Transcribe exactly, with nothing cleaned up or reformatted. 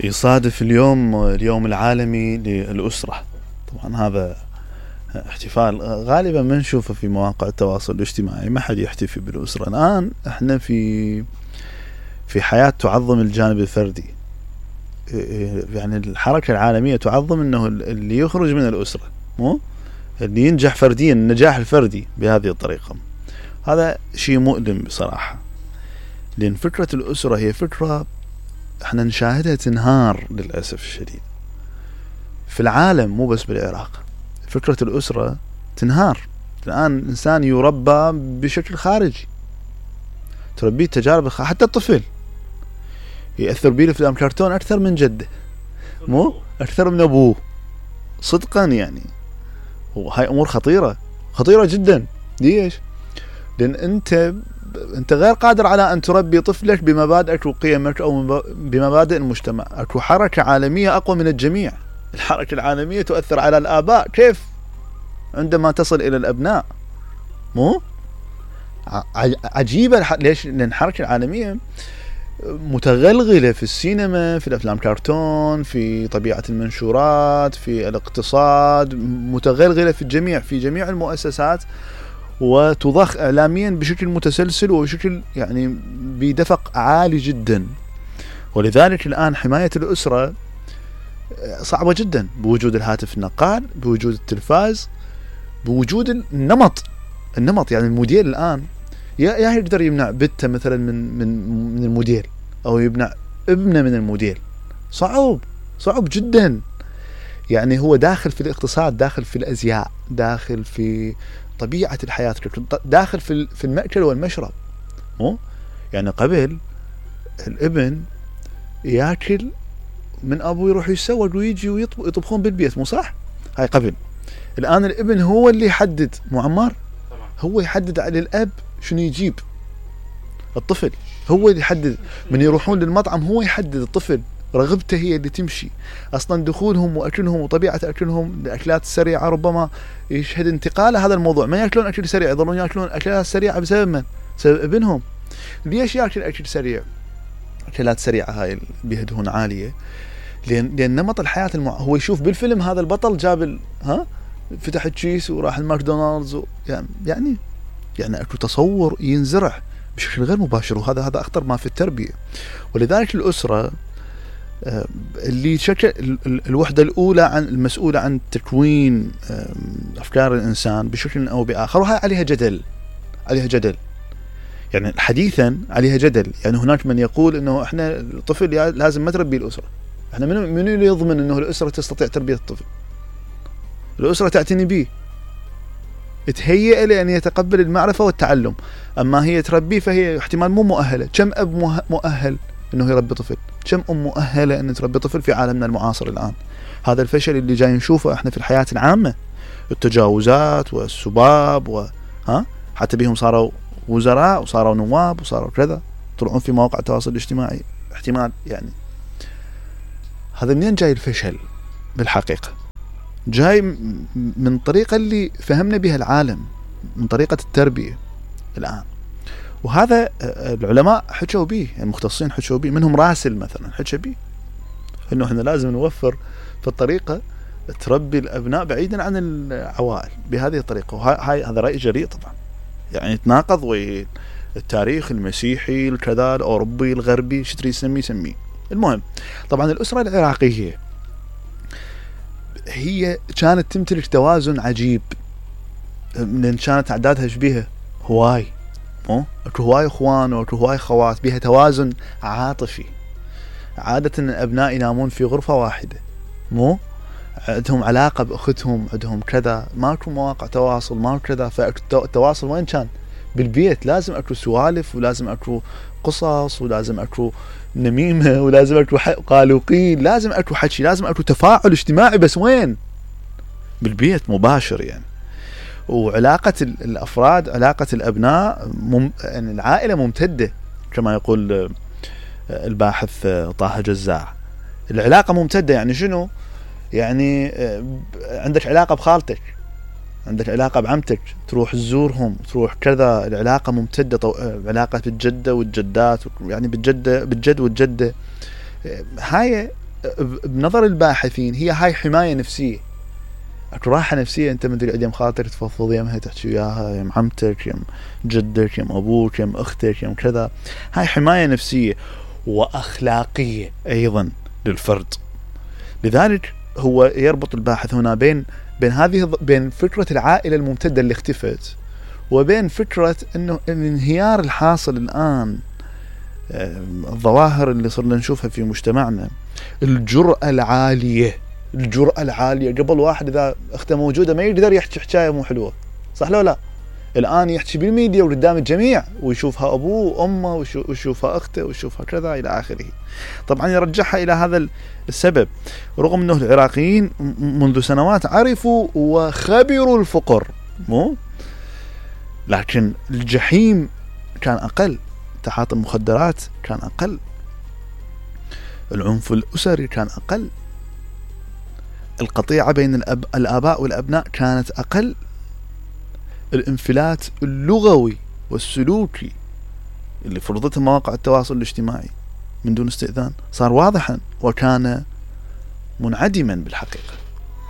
يصادف اليوم اليوم العالمي للأسرة. طبعا هذا احتفال غالبا ما نشوفه في مواقع التواصل الاجتماعي، ما حد يحتفي بالأسرة. الآن احنا في في حياة تعظم الجانب الفردي، يعني الحركة العالمية تعظم انه اللي يخرج من الأسرة، مو اللي ينجح فرديا، النجاح الفردي بهذه الطريقة. هذا شيء مؤلم بصراحة، لأن فكرة الأسرة هي فكرة احنا نشاهدها تنهار للأسف الشديد في العالم، مو بس بالعراق. فكرة الأسرة تنهار. الآن الإنسان يربى بشكل خارجي، تربيه تجارب، حتى الطفل يأثر بيه الأفلام كرتون أكثر من جده، مو أكثر من أبوه صدقا يعني. وهاي أمور خطيرة خطيرة جدا. ليش؟ لأن أنت أنت غير قادر على أن تربي طفلك بمبادئك وقيمك أو بمبادئ المجتمع. أكو حركة عالمية أقوى من الجميع. الحركة العالمية تؤثر على الآباء كيف عندما تصل إلى الأبناء، مو عجيبة. ليش؟ لأن الحركة العالمية متغلغلة في السينما، في الأفلام كرتون، في طبيعة المنشورات، في الاقتصاد، متغلغلة في الجميع، في جميع المؤسسات، وتضخ إعلاميا بشكل متسلسل وبشكل يعني بدفق عالي جدا. ولذلك الآن حماية الأسرة صعبة جدا، بوجود الهاتف النقال، بوجود التلفاز، بوجود النمط النمط يعني الموديل الآن يا يا يقدر يمنع بنته مثلا من من من الموديل، أو يمنع ابنه من الموديل. صعب صعب جدا. يعني هو داخل في الاقتصاد، داخل في الأزياء، داخل في طبيعة الحياة، داخل في في المأكل والمشرب. مو يعني قبل الابن ياكل من أبوه، يروح يسوق ويجي ويطبخون بالبيت، مو صح؟ هاي قبل. الآن الابن هو اللي يحدد، مو عمار؟ هو يحدد على الأب شنو يجيب. الطفل هو اللي يحدد. من يروحون للمطعم هو يحدد، الطفل رغبته هي اللي تمشي. أصلا دخولهم وأكلهم وطبيعة أكلهم الأكلات السريعة ربما يشهد انتقال هذا الموضوع. ما يأكلون أكل سريع، يظلون يأكلون أكلات سريعة بسبب من؟ بسبب ابنهم. ليش يأكل أكل سريع؟ أكلات سريعة هاي بهدهون عالية، لأن لأن نمط الحياة المع... هو يشوف بالفيلم هذا البطل جاب ال... ها فتح التشيس وراح الماكدونالدز و... يعني يعني يعني أكو تصور ينزرع بشكل غير مباشر، وهذا هذا أخطر ما في التربية. ولذلك الأسرة اللي شكل الوحدة الأولى عن المسؤولة عن تكوين أفكار الإنسان بشكل أو بآخر، وهي عليها جدل عليها جدل يعني حديثا عليها جدل. يعني هناك من يقول إنه إحنا الطفل لازم ما تربي الأسرة. إحنا من من اللي يضمن إنه الأسرة تستطيع تربية الطفل؟ الأسرة تعتني به، تهيئ لأن يتقبل المعرفة والتعلم. أما هي تربيه فهي احتمال مو مؤهلة. كم أب مؤهل إنه يربي طفل؟ كم أم مؤهلة أن تربي طفل في عالمنا المعاصر الآن؟ هذا الفشل اللي جاي نشوفه إحنا في الحياة العامة، التجاوزات والسباب و ها حتى بهم صاروا وزراء وصاروا نواب وصاروا كذا، طلعون في مواقع التواصل الاجتماعي. احتمال يعني هذا منين جاي الفشل؟ بالحقيقة جاي من طريقة اللي فهمنا بها العالم، من طريقة التربية الآن. وهذا العلماء حكوا به، المختصين حكوا به، منهم راسل مثلا حكى به انه احنا لازم نوفر في الطريقة تربي الابناء بعيدا عن العوائل بهذه الطريقة. وهاي هذا رأي جريء طبعا، يعني يتناقض والتاريخ المسيحي الكذا الاوروبي الغربي شو تريد يسميه سميه. المهم طبعا الأسرة العراقية هي كانت تمتلك توازن عجيب، لأن كانت أعدادها شبيهة هواي، مو اكو هواي اخوان واكو هواي خوات، بها توازن عاطفي. عادة الابناء ينامون في غرفة واحدة، مو عندهم علاقة باختهم، عندهم كذا، ماكو مواقع تواصل، ماكو كذا. فالتواصل وين كان؟ بالبيت. لازم اكو سوالف، ولازم اكو قصص، ولازم اكو نميمة، ولازم اكو قالوقين، لازم اكو حكي، لازم اكو تفاعل اجتماعي. بس وين؟ بالبيت مباشر يعني. وعلاقة الأفراد، علاقة الأبناء مم... يعني العائلة ممتدة كما يقول الباحث طه جزاع. العلاقة ممتدة يعني شنو؟ يعني عندك علاقة بخالتك، عندك علاقة بعمتك، تروح تزورهم، تروح كذا. العلاقة ممتدة. طو... علاقة بالجدة والجدات، يعني بالجدة بالجد والجدة. هاي بنظر الباحثين هي هاي حماية نفسية. اكو راحة نفسية، انت من تريد يم خاطر تفضفض يمها، تحكي وياها، يم عمتك، يم جدك، يم ابوك، يم اختك، يم كذا. هاي حماية نفسية واخلاقية ايضا للفرد. لذلك هو يربط الباحث هنا بين بين هذه بين فكرة العائلة الممتدة اللي اختفت، وبين فكرة انه الانهيار الحاصل الان، الظواهر اللي صرنا نشوفها في مجتمعنا، الجرأة العالية الجرأة العالية. قبل واحد اذا اخته موجودة ما يقدر يحكي حكاية مو حلوة، صح لو لا؟ الان يحكي بالميديا وقدام الجميع، ويشوفها ابوه وامه ويشوفها اخته ويشوفها كذا الى اخره. طبعا يرجعها الى هذا السبب، رغم انه العراقيين منذ سنوات عرفوا وخبروا الفقر، مو لكن الجحيم كان اقل، تعاطي المخدرات كان اقل، العنف الاسري كان اقل، القطيعة بين الأب... الآباء والأبناء كانت أقل، الانفلات اللغوي والسلوكي اللي فرضتها مواقع التواصل الاجتماعي من دون استئذان صار واضحا وكان منعدما بالحقيقة.